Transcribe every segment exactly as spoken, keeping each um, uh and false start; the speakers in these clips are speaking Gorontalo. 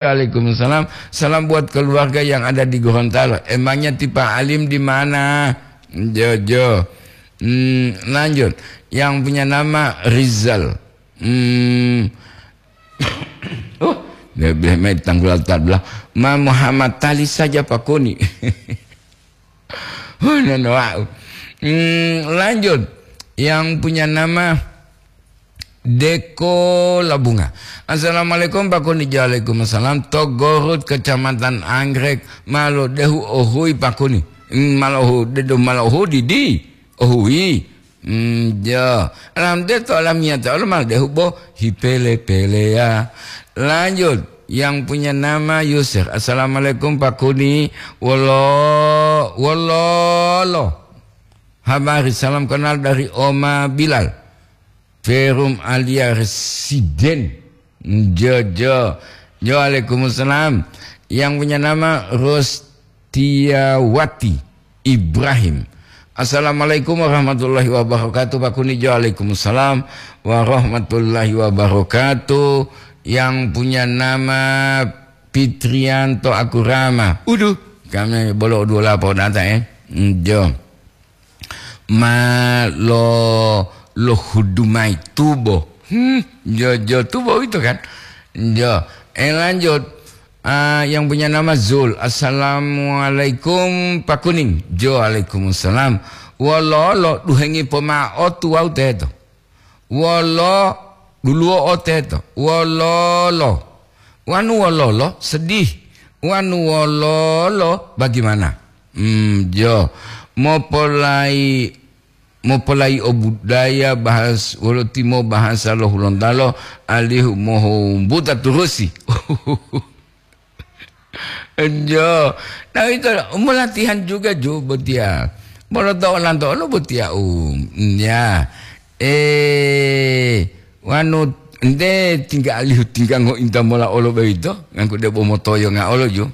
Waalaikumsalam. Salam buat keluarga yang ada di Gorontalo. Emangnya tipe alim di mana? Jojo. Hmm, lanjut. Yang punya nama Rizal. Hmm. Oh, dia bilang, "Mai tanggul altar belah." Ma Muhammad Tali saja pakuni. Huh, nono wau. Hmm, lanjut. Yang punya nama Deko Labunga. "Assalamualaikum, Pak Kuni." Waalaikumsalam. "To Gorut, Kecamatan Anggrek, malo dehu ohui, Pak Kuni." Hmm, malo hu-, dedo malo hu didi. Ohui. Hmm, jo. Alam de to alam nyata, alam mal dehu bo hipele-pele ya. Lanjut, yang punya nama Yusuf. "Assalamualaikum, Pak Kuni." Wolo, wololo. Habari, salam kenal dari Oma Bilal. Perum Alia Residen. Jojo. Jo, waalaikumsalam. Yang punya nama Rostiawati Ibrahim. "Assalamualaikum warahmatullahi wabarakatuh, Pak Kuni." Jo, waalaikumsalam warahmatullahi wabarakatuh. Yang punya nama Fitrianto Akurama. Uduh, kami bolo dua lapo data, eh. Jo. Ma lo, lo hudu mai tubo. Hmm, jo, jo tubo itu kan. Jo, eh, lanjut. Ah, yang punya nama Zul. "Assalamualaikum, Pak Kuning." Jo, waalaikumsalam. "Wololo duhengi pomao tuwau teto?" Wolo, duluwo o teto. Wololo. Wanu wololo, sedih. Wanu wololo, bagaimana? Hmm, jo. Mopolai, mopolai o budaya bahas, wolo timo bahasa lo Hulontalo, alihu mohombuta turusi. Jo, nah, itu mo latihan juga ju botiya. Bolo to olanto olo botiya, um, ya. Eh, wanu nde tingga alihu tingga ngointa mola olo boyito, ngangku debo motoyo nga olo ju.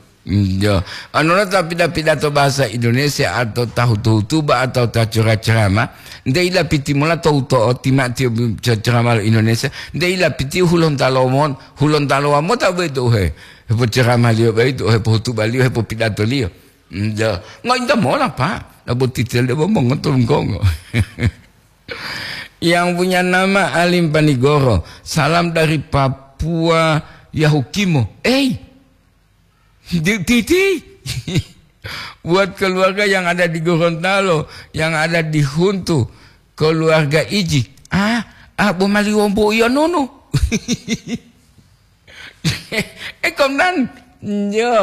Jo. Anu lo ta pida-pidato bahasa Indonesia atau ta hutu-hutuba atau ta cera-cerama, nde ilapiti mola to uto'o tima tiyo ce-, cerama lo Indonesia, nde ilapiti Hulontalo mon-, Hulontalo wa mota boyito uhe. Hepoceramaliyo boyito, hepohutubaliyo, hepopidatoliyo. Nja, ngointa mola, Pak. Nabo titel debo mongoto lunggongo. Yang punya nama Alim Panigoro. "Salam dari Papua, Yahukimo." Ei, di-, titi. Buat keluarga yang ada di Gorontalo, yang ada di Huntu, keluarga Iji. Ah, ah, bo mali wombo iya nono. Eh, Komdan. Njo.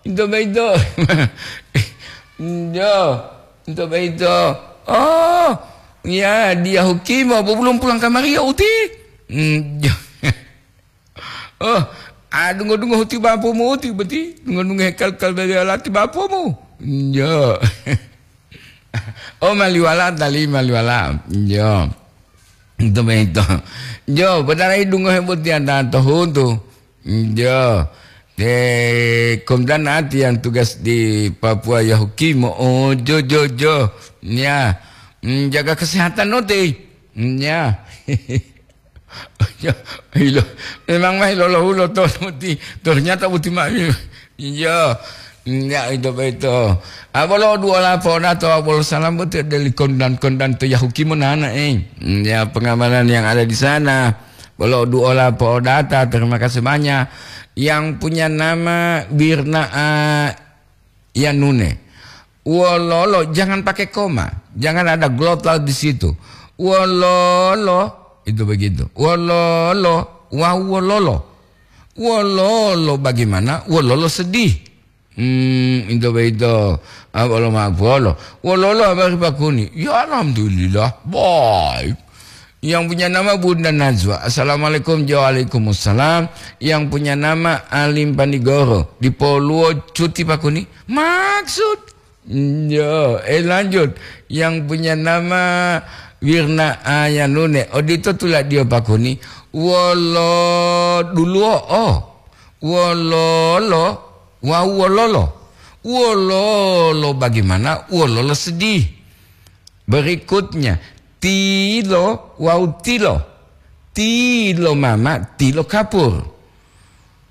Into beito. Njo. Into beito. Oh, ya, dia Hukimo, bo belum pulang kamari ya, Uti? Njo. Oh, ah, dungo-dungo huti bapumu, Uti, beti. Dungo-dungo hekal-kal bebe alati bapumu. Njo. Oh, maliwala tali, maliwala. Njo. Itu begitu. Jo, betara idungo hebutiya ta to huntu. Jo. Te Komdan Ati yang tugas di Papua ya Hukimo. Oh, jo, jo, jo. Ya. Mm, jaga kesehatan no te. Mm, ya. Ya, ilo. Memang mah ilolo hulo to muti. Ternyata muti mah. Iya. Enggak itu beto. Abolo duola podato abolo salam betul dari kondan-kondan to Yahukimo nana, eh. Ya, pengamanan yang ada di sana. Bolo duola podata, terima kasih banyak. Yang punya nama Wirna, ah, Yanune. Wololo, jangan pakai koma. Jangan ada glottal di situ. Wololo, itu begitu. Wololo, wau wololo. Wololo bagaimana? Wololo sedih. Hmm, itu begitu. Ah, wolo maaf, wolo. Wololo, habari Pak Kuni? Ya, alhamdulillah. Baik. Yang punya nama Bunda Najwa. Assalamualaikum. Waalaikumsalam. Yang punya nama Alim Panigoro. Di Poluo cuti Pak Kuni. Maksud? Yo, eh, lanjut. Yang punya nama Wirna Ayanune. Odito tuladio Pak Kuni. Wolo duluo, oh. Wololo. Wau wololo. Wololo bagaimana? Wololo sedih. Berikutnya, tilo wau tilo. Tilo mama, tilo kapur.